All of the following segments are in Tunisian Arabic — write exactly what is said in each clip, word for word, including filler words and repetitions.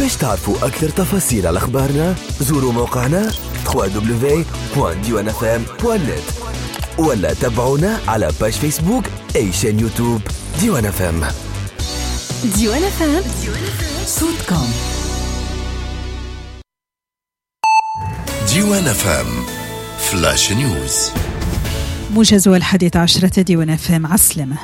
باش تعرفوا أكثر تفاصيل على أخبارنا زوروا موقعنا دبليو دبليو دبليو دوت ديوان اف ام دوت نت ولا تابعونا على page فيسبوك أي chaîne يوتيوب ديوان اف ام. ديوان اف ام صوتكم. ديوان اف ام flash news. موجز الحادية عشرة ديوان اف ام، عسلامة.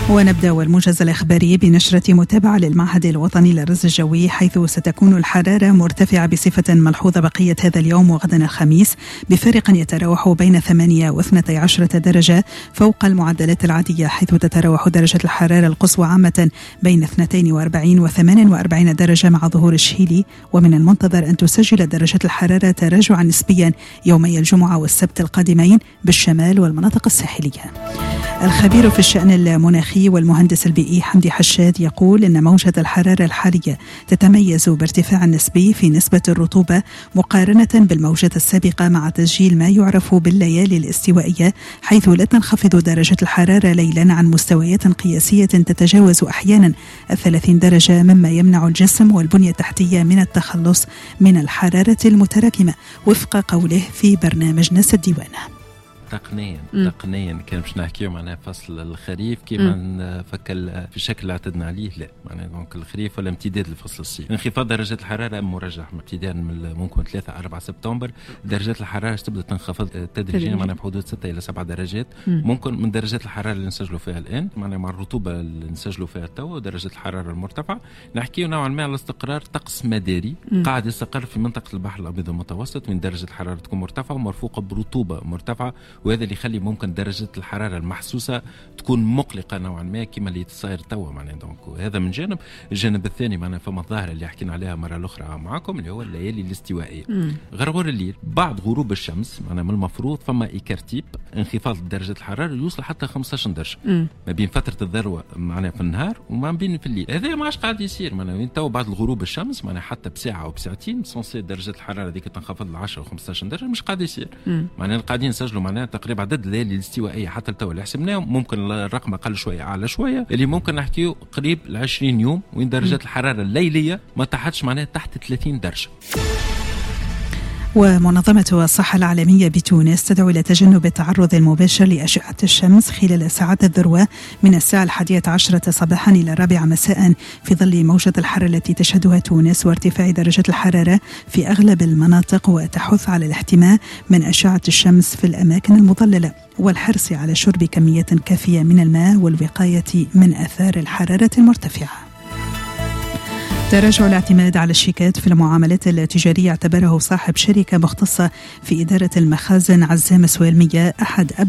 ونبدأ الموجز الإخباري بنشرة متابعة للمعهد الوطني للرصد الجوي، حيث ستكون الحرارة مرتفعة بصفة ملحوظة بقية هذا اليوم وغدا الخميس بفارق يتراوح بين ثمانية واثنتي عشرة درجة فوق المعدلات العادية، حيث تتراوح درجة الحرارة القصوى عامة بين اثنتين وأربعين وثمان وأربعين درجة مع ظهور الشهيلي. ومن المنتظر أن تسجل درجة الحرارة تراجعا نسبيا يومي الجمعة والسبت القادمين بالشمال والمناطق الساحلية. الخبير في الشأن المناخي والمهندس البيئي حمدي حشاد يقول إن موجة الحرارة الحالية تتميز بارتفاع نسبي في نسبة الرطوبة مقارنة بالموجة السابقة، مع تسجيل ما يعرف بالليالي الاستوائية، حيث لا تنخفض درجة الحرارة ليلا عن مستويات قياسية تتجاوز أحيانا الثلاثين درجة، مما يمنع الجسم والبنية التحتية من التخلص من الحرارة المتراكمة، وفق قوله في برنامج ناس الديوانة. تقنيا تقنيا كان باش نحكيو معناها فصل الخريف كيما نفكر في الشكل اللي اعتدنا عليه، لا معناها donc الخريف ولا امتداد لفصل الصيف. انخفاض درجات الحرارة مرجح ابتداء من ممكن ثلاثة أربعة سبتمبر درجات الحرارة تبدا تنخفض تدريجيا معناها بحدود ستة الى سبعة درجات مم. ممكن من درجات الحرارة اللي نسجلوا فيها الان، معناها مع الرطوبة اللي نسجلوا فيها تو ودرجات الحرارة المرتفعة نحكيو نوعا ما على استقرار طقس مداري مم. قاعد يستقر في منطقة البحر الابيض المتوسط، من درجه الحرارة تكون مرتفعة ومرفوقه برطوبه مرتفعة، وهذا اللي يخلي ممكن درجة الحرارة المحسوسة تكون مقلقة نوعا ما كما اللي تصير توا معناها. donc هذا من جانب. الجانب الثاني معناها فما الظاهرة اللي حكينا عليها مرة الأخرى معكم اللي هو الليالي الاستوائية، غرغور الليل بعد غروب الشمس معناها من المفروض فما écart type انخفاض درجة الحرارة يوصل حتى خمسة عشر درجة مم. ما بين فترة الذروة معناها في النهار وما بين في الليل. هذا ما عادش قاعد يصير معناها وين تو بعد الغروب الشمس معناها حتى بساعة أو بساعتين censé درجة الحرارة هذيك تنخفض ل عشرة و خمسة عشر درجة مش قاعد يصير. معناها قاعدين نسجلوا معناها تقريبا عدد الليالي الاستوائيه حتى لتو اللي حسبناه ممكن الرقم اقل شوية اعلى شوية اللي ممكن نحكيو قريب ل عشرين يوم وين درجات الحرارة الليلية ما تحتش معناها تحت ثلاثين درجه. ومنظمة الصحة العالمية بتونس تدعو إلى تجنب التعرض المباشر لأشعة الشمس خلال ساعات الذروة من الساعة الحادية عشرة صباحا إلى الرابعة مساء في ظل موجة الحر التي تشهدها تونس وارتفاع درجة الحرارة في أغلب المناطق، وتحث على الاحتماء من أشعة الشمس في الأماكن المظللة والحرص على شرب كمية كافية من الماء والوقاية من آثار الحرارة المرتفعة. تراجع الاعتماد على الشيكات في المعاملات التجارية اعتبره صاحب شركة مختصة في إدارة المخازن عزام سوالمية أحد أبرز